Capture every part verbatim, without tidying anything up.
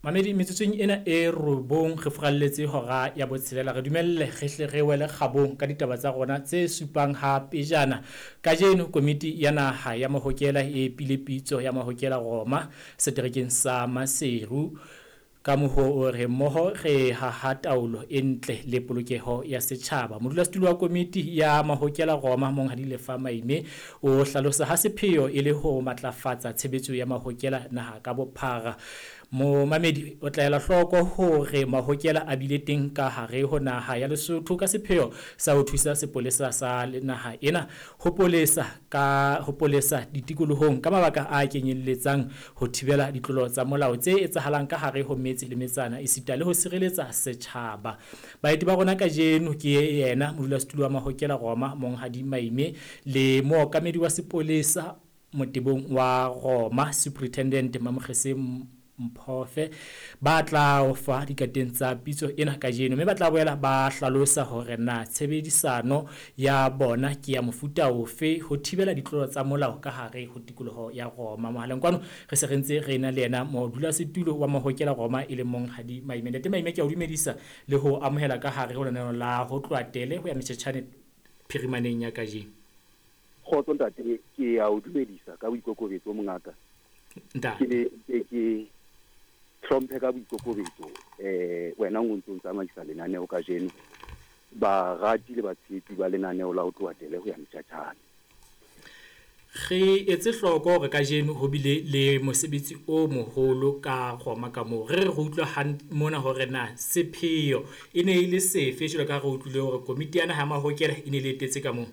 Mamedi, metsotsong ena e robong re furalletse hora ya botshelela, re dumelle re hle re wele kgabong ka ditaba tsa rona tse supang ha pejana. Kajeno komiti ya naha ya mahokela e pile pitso ya mahokela Roma seterekeng sa Maseru ka moho re mmoho re haha taolo e ntle le polokeho ya setjhaba. Modulasetulo wa komiti ya mahokela Roma Monghadi Lefa Maime o hlalosa ha sepheo e le ho matlafatsa tshebetso ya mahokela naha ka bophara. Momamedi o tla ela hloko hore mahokela a bile teng ka hare ho naha ya Lesotho ka sepheo sa ho thusa sepolesa sa naha ena ho polesa ka ho polesa ditikolohong ka mabaka a kenyelletsang ho thibela ditlolo tsa molao tse etsahalang ka hare ho metse le metsana esita le ho sireletsa setjhaba. Baeti ba rona kajeno ke yena modulasetulo wa mahokela Roma Monghadi Maime le mookamedi wa sepolesa motebong wa Roma Superintendent Mamokgese Mphofe ba tla o fa dikateng tsa pitso ena kajeno, mme ba tla boela ba hlalosa hore na tshebedisano ya bona ke ya mofuta ofe ho thibela ditlolo tsa molao ka hare ho tikoloho ya Roma. Mohaleng kwano re se re ntse re na le yena modulasetulo wa mahokela Roma e leng Monghadi Maime. Ntate Maime, ke a o dumedisa le ho amohela ka hare ho lenaneo la ho tloha tele ho ya metjhetjhane phirimaneng ya kajeno. Kgotso ntate, ke a o dumedisa ka boikokobetso mongaka. Ntate. Ke ke ke hlomphe ka boikokobetso eh wena o ntse o tsamaisa lenaneo kajeno, barati le batshehetsi ba lenaneo la ho tloha tele ho ya metjhatjhane. Re etse hloko hore kajeno ho bile le mosebetsi o moholo ka Roma ka moo. Re re utlwa mona hore na sepheo e ne e le sefe, jwalo ka re utlwile hore komiti ya naha ya mahokela e ne le etetse ka moo.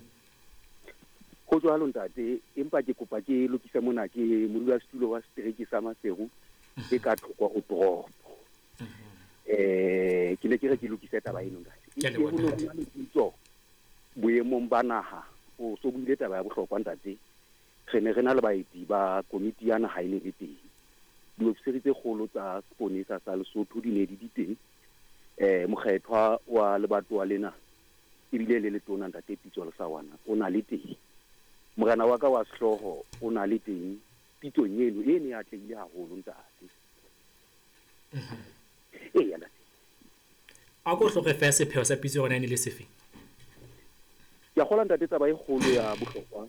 Ho jwalo ntate, empa ke kopa ke lokise mona, ke modulasetulo wa setereke sa Maseru e ka thoko ho toropo. Eh ke ne ke re ke lokise taba eno ntate. Ke a leboha ntate. Pitso boemong ba naha o so buile taba ya bohlokwa ntate. Re ne re na le baeti ba komiti ya naha e ne le teng. Diofisiri tse kgolo tsa seponesa sa Lesotho di ne di di teng. Eh mokgethwa wa lebatowa lena ebile le letona ntate Pitso Lesawana o na le teng. Morena wa ka wa sehlooho o na le teng pitsong eno e ne e atlehile haholo ntate. Eya ntate. A ko hloke feela sepheo sa pitso yona e ne le sefe? Ke a kgolwa ntate taba e kgolo ya bohlokwa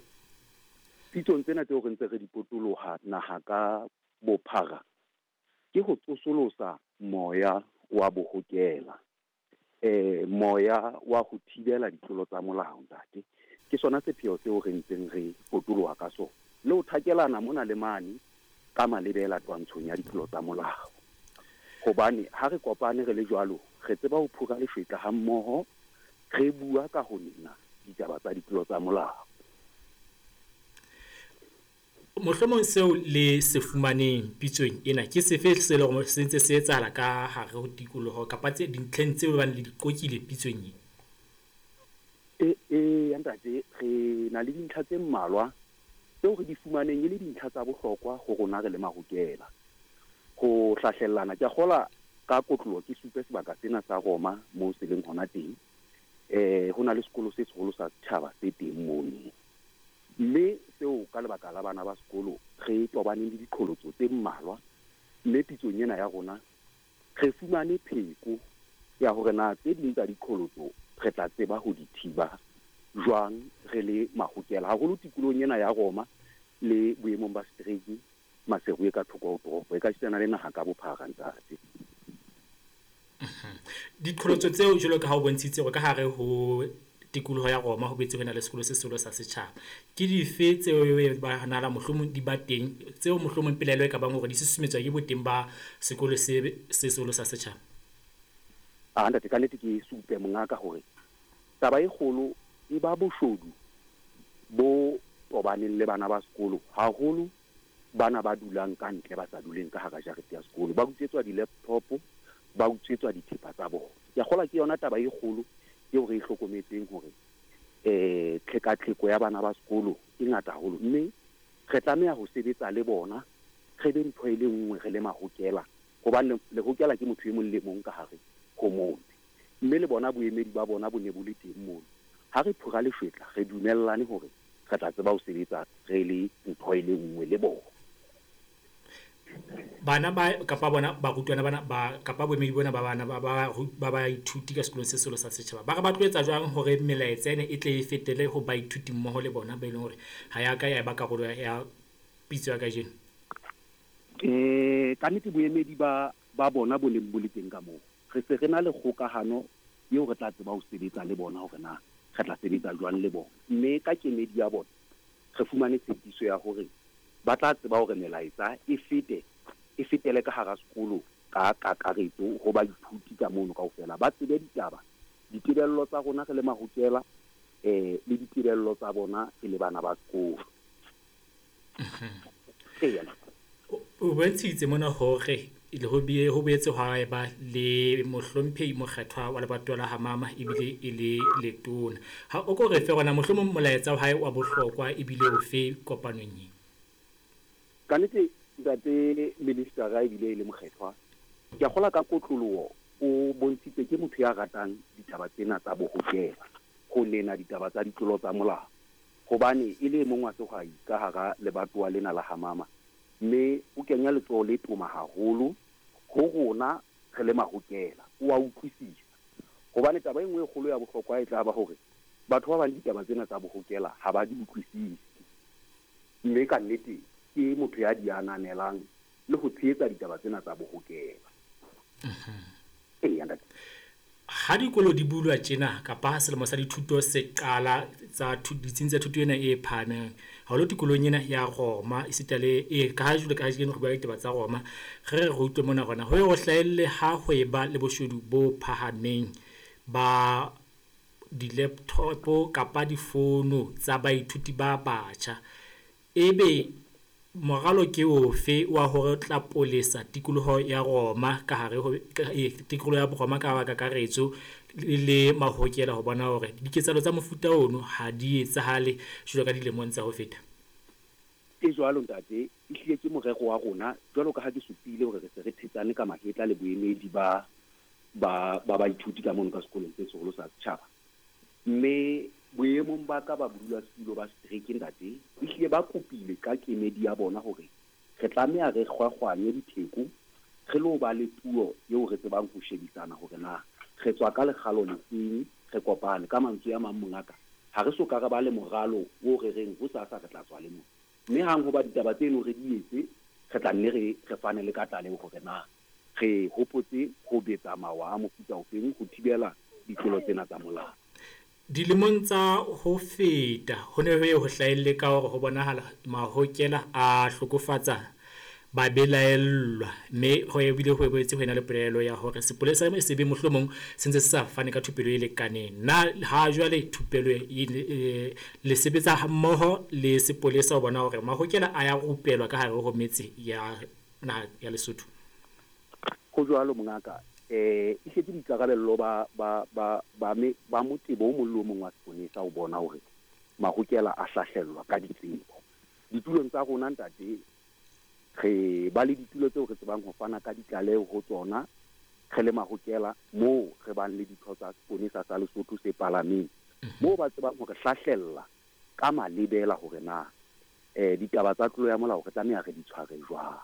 pitsong tsena tseo re ntse re di potoloha naha ka bophara ke ho tsosolosa moya wa bohokela, eh moya wa ho thibela ditlolo tsa molao ntate. Ke sona sepheo seo re ntseng re potoloha ka sona le ho thakelana mona le mane ka malebela twantshong ya ditlolo tsa molao. Hobane ha re kopane re le jwalo, re tseba ho phura lefetla ha mmoho, re bua ka ho nena ditaba tsa ditlolo tsa molao. Mohlomong seo le se fumaneng pitsong ena ke sefe se leng hore se ntse se etsahala ka hare ho tikoloho kapa tse dintlheng tseo bang le di qokile pitsong e? E, e ntate, re na le dintlha tse mmalwa tseo re di fumaneng e le dintlha tsa bohlokwa ho rona re le mahokela. Ho hlahlellana, ke a kgola ka kotlolo ke supe sebaka sena sa Roma moo se leng hona teng. Eh ho na le sekolo se seholo sa setjhaba se teng mono. Mme seo ka lebaka la bana ba sekolo re tobaneng le diqholotso tse mmalwa, mme pitsong ena ya rona re fumane pheko ya hore na tse ding tsa diqholotso re tla tseba ho di thiba jwang re le mahokela, haholo tikolohong ena ya Roma le boemong ba setereke Maseru e ka thoko ho toropo e ka sitana le naha ka bophara ntate. Diqholotso tseo jwalo ka ha o bontshitse hore ka hare ho tikoloho ya Roma ho boetse ho na le sekolo se seholo sa setjhaba, ke dife tseo ba nala mohlomong di ba teng tseo mohlomong pelaelo e ka bang hore di susumetswa ke boteng ba sekolo se se seholo sa setjhaba? Ah ntate, ka nnete ke supe mongaka hore taba e kgolo e ba boshodu bo tobaneng le bana ba sekolo, haholo bana ba dulang ka ntle ba sa duleng ka hara jarete ya sekolo, ba utswetswa di-laptop, ba utswetswa dithepa tsa bona. Ke a kgolwa ke yona taba e kgolo eo re e hlokometseng hore eh tlhekatlheko ya bana ba sekolo e ngata haholo, mme re tlameha ho sebetsa le bona re be ntho e le nngwe re le mahokela, hobane lehokela ke motho e mong le mong ka hare ho motse, mme le bona boemedi ba bona bo ne bo le teng mono. Ha re phura lefetla re dumellane hore re tla tseba ho sebetsa re le ntho e le nngwe le bona. Bana ba kapa bona barutwana bana ba kapa boemedi bona ba bana ba ba ba baithuti ka sekolong se seholo sa setjhaba, ba re ba tlo etsa jwang hore melaetsa ena e tle e fetele ho baithuti mmoho le bona ba e leng hore ha ya ka ya eba karolo ya pitso ya kajeno? Eh, kannete boemedi ba ba bona bo neng bo le teng ka moo, re se re na le kgokahano eo re tla tseba ho sebetsa le bona hore na re tla sebetsa jwang le bona. Mme ka kemedi ya bona re fumane tshepiso ya hore ba tla tseba hore melaetsa e fete, e fetele ka hara sekolo ka kakaretso ho baithuti ka mono kaofela, ba tsebe ditaba, ditebello tsa rona re le mahokela, eh, le ditebello tsa bona e le bana ba sekolo. Eya. O bontshitse mona hore le ho bie, ho boetse hwa eba le mohlomphehi mokgethwa wa lebatowa la Hamama ebile e le letona. Ha o ko re fe rona mohlomong molaetsa wa hae wa bohlokwa ebile ofe kopanong e? Kannete ntate minister ebile e le mokgethwa, ke a kgolwa ka kotloloho o bontshitse ke motho ya ratang ditaba tsena tsa bohokela, ho lena ditaba tsa ditlolo tsa molao, hobane e le e mong wa sehwai ka hara lebatowa lena la Hamama, mme o kenya letsoho le toma haholo ho rona re le mahokela, o a utlwisisa. Hobane taba e nngwe e kgolo ya bohlokwa e tla ba hore batho ba bang ditaba tsena tsa bohokela ha ba di utlwisise, mme ka nnete ke motho ya di ananelang le ho tshehetsa ditaba tsena tsa bohokela. Eya, ntate. Ha dikolo di bulwa tjena kapa selemo sa dithuto se qala tsa ditsing tsa thuto ena e phahameng, haholo tikolong ena ya Roma, esita le e ka ha jwale ka kajeno re bua ditaba tsa Roma, re re re utlwe mona rona ho ye ho hlahelle ha ho eba le boshodu bo phahameng ba di-laptop kapa difono tsa baithuti ba batjha. Ebe moralo ke ofe wa hore tla polesa tikoloho ya Roma ka hare ho tikoloho ya Roma ka kakaretso le mahokela ho bona hore diketsahalo tsa mofuta ono ha di etsahale jwalo ka dilemong tsa ho feta? E jwalo ntate, ehlile ke morero wa rona jwalo ka ha ke supile hore re se re thetsane ka mahetla le boemedi ba ba ba baithuti ka mono ka sekolong se seholo sa setjhaba. Mme boemong ba ka ba bodulasetulo ba setereke ntate, ehlile ba kopile ka kemedi ya bona hore re tlameha re kgwakgwanye ditheko, re lo ba le puo eo re tsebang ho shebisana hore na re tswa ka lekgalo lefeng, re kopane. Ka mantswe a mang mongaka, ha re so ka re ba le moralo o re reng hosasa re tla tswa le mona. Mme hang hoba ditaba tseno re di etse, re tla nne re, re fane le ka tlaleho hore na re hopotse ho betsa mawa a mofuta ofeng ho thibela ditlolo tsena tsa molao. Dilemong tsa ho feta ho ne ho ye ho hlahelle ka hore ho bonahala mahokela a hlokofatsa babelaellwa, mme ho ebile ho boetse ho ena le polelo ya hore sepolesa se be mohlomong se ntse se sa fane ka thupelo e lekaneng. Na ha jwale thupelo e le sebetsa hammoho le sepolesa ho bona hore mahokela a ya rupelwa ka hare ho metse ya naha ya Lesotho? Ho jwalo mongaka, eh e setse boikarabello ba ba ba ba me ba motebo o mong le o mong wa seponesa ho bona hore mahokela a hlahlellwa ka ditsebo. Ditulong tsa rona ntate, re ba le ditulo tseo re tsebang ho fana ka ditlaleho ho tsona re le mahokela, moo re bang le ditho tsa seponesa sa Lesotho se palameng, moo ba tsebang hore hlahlella ka malebela hore na eh ditaba tsa tlolo ya molao re tlameha re di tshware jwang.